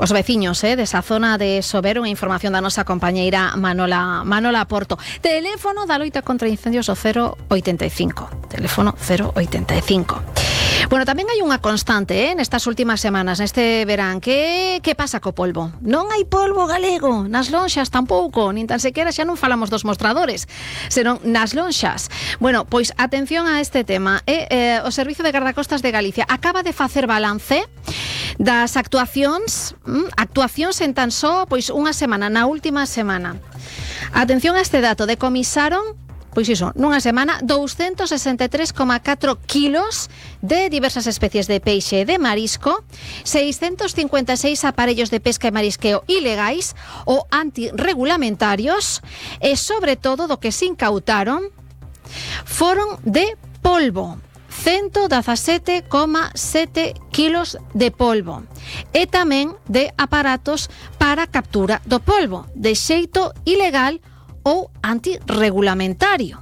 os veciños desa zona de Sobero. Unha información da nosa compañeira Manola Porto. Teléfono da loita contra incendios o 085. Teléfono 085. Bueno, tamén hai unha constante nestas últimas semanas, neste verán. Que pasa co polvo? Non hai polvo galego nas lonxas tampouco, nin tan sequera xa non falamos dos mostradores, senón nas lonxas. Bueno, pois atención a este tema. O Servizo de Gardacostas de Galicia acaba de facer balance das actuacións en tan só pois unha semana, na última semana. Atención a este dato, decomisaron pois iso, nunha semana 263,4 kilos de diversas especies de peixe e de marisco, 656 aparellos de pesca e marisqueo ilegais ou antirregulamentarios e sobre todo do que se incautaron foron de polvo. 117,7 kilos de polvo e tamén de aparatos para captura do polvo de xeito ilegal ou antirregulamentario.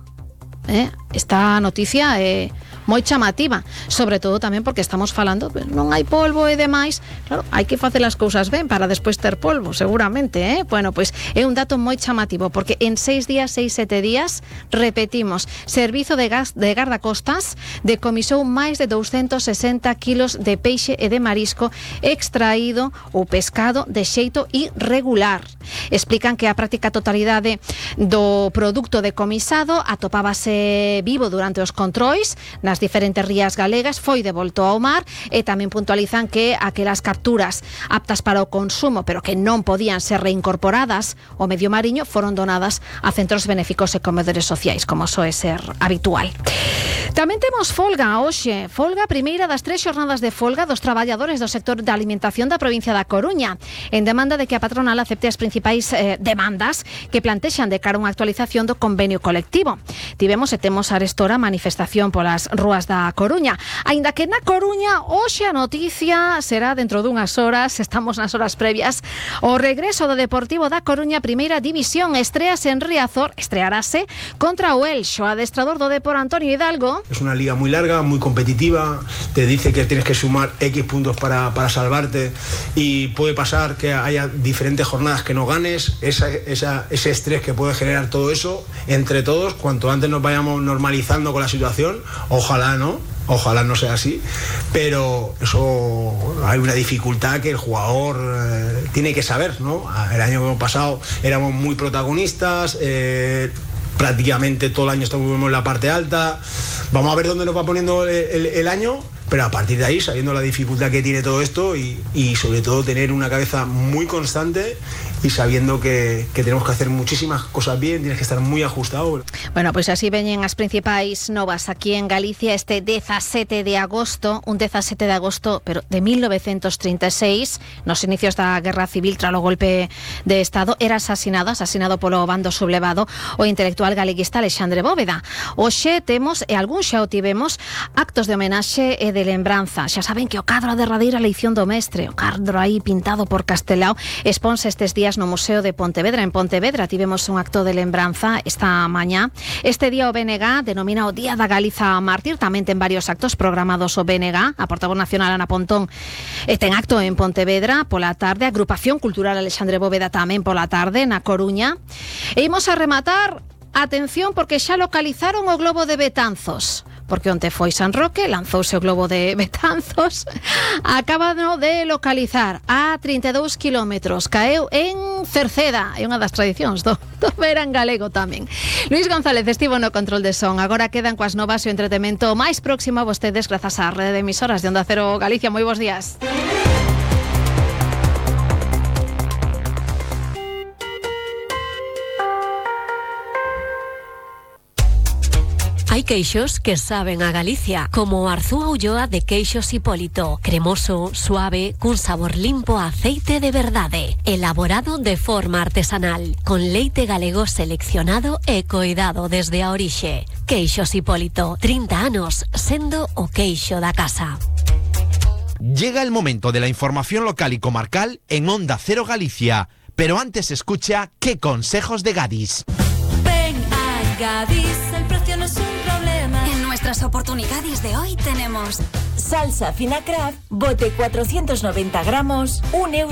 Esta noticia é moi chamativa, sobre todo tamén porque estamos falando, non hai polvo e demais. Claro, hai que facer as cousas ben para despois ter polvo, seguramente, Bueno, pois é un dato moi chamativo, porque en 6 días, 6-7 días, repetimos, Servizo de Gardacostas decomisou máis de 260 kilos de peixe e de marisco extraído ou pescado de xeito irregular. Explican que a práctica totalidade do produto decomisado atopábase vivo durante os controis nas diferentes rías galegas, foi devolto ao mar, e tamén puntualizan que aquelas capturas aptas para o consumo, pero que non podían ser reincorporadas ao medio mariño, foron donadas a centros benéficos e comedores sociais, como soe ser habitual. Tamén temos folga hoxe, folga primeira das 3 xornadas de folga dos traballadores do sector da alimentación da provincia da Coruña, en demanda de que a patronal acepte as principais demandas que plantexan de cara a unha actualización do convenio colectivo. Tivemos e temos arestora manifestación polas rúas da Coruña, aínda que na Coruña hoxe a noticia será dentro dunhas horas, estamos nas horas previas, o regreso do Deportivo da Coruña Primeira División. Estrease en Riazor, estrearase contra o Elxo. Adestrador do Depor, Antonio Hidalgo. Es una liga muy larga, muy competitiva, te dice que tienes que sumar X puntos para salvarte, y puede pasar que haya diferentes jornadas que no ganes. Ese estrés que puede generar todo eso, entre todos, cuanto antes nos vayamos normalizando con la situación, ojalá no sea así, pero eso hay una dificultad que el jugador tiene que saber, ¿no? El año pasado éramos muy protagonistas, prácticamente todo el año estamos en la parte alta. Vamos a ver dónde nos va poniendo el año, pero a partir de ahí, sabiendo la dificultad que tiene todo esto y sobre todo tener una cabeza muy constante y sabiendo que tenemos que hacer muchísimas cosas bien, tienes que estar muy ajustado. Bueno, pois así veñen as principais novas aquí en Galicia este 17 de agosto, un 17 de agosto, pero de 1936, nos inicios da Guerra Civil, tras o golpe de Estado, era asesinado polo bando sublevado o intelectual galeguista Alexandre Bóveda. Hoxe temos, e algún xa o tivemos, actos de homenaxe e de lembranza. Xa saben que o cadro a derradeira eleición do mestre, o cadro aí pintado por Castelao, exponse estes días no Museo de Pontevedra. En Pontevedra tivemos un acto de lembranza esta mañá. Este día o BNG denomina o Día da Galiza Mártir. Tamén ten varios actos programados o BNG. A portavoz nacional Ana Pontón ten acto en Pontevedra pola tarde. A Agrupación Cultural Alexandre Bóveda tamén pola tarde na Coruña. E imos a rematar, atención, porque xa localizaron o globo de Betanzos. Porque onte foi San Roque, lanzouse o globo de Betanzos, acabado de localizar a 32 kilómetros, caeu en Cerceda, é unha das tradicións do verán galego tamén. Luís González estivo no control de son, agora quedan coas novas e o entretemento máis próximo a vostedes grazas á rede de emisoras de Onda Cero Galicia. Moi bons días. Hai queixos que saben a Galicia, como o Arzúa Ulloa de Queixos Hipólito. Cremoso, suave, cun sabor limpo a aceite de verdade. Elaborado de forma artesanal, con leite galego seleccionado e coidado desde a orixe. Queixos Hipólito, 30 anos sendo o queixo da casa. Llega el momento de la información local y comarcal en Onda Cero Galicia. Pero antes escucha ¿Qué consejos de Gadis? Ven a Gadis, el precio no es un problema. En nuestras oportunidades de hoy tenemos salsa fina Kraft, bote 490 gramos, €1.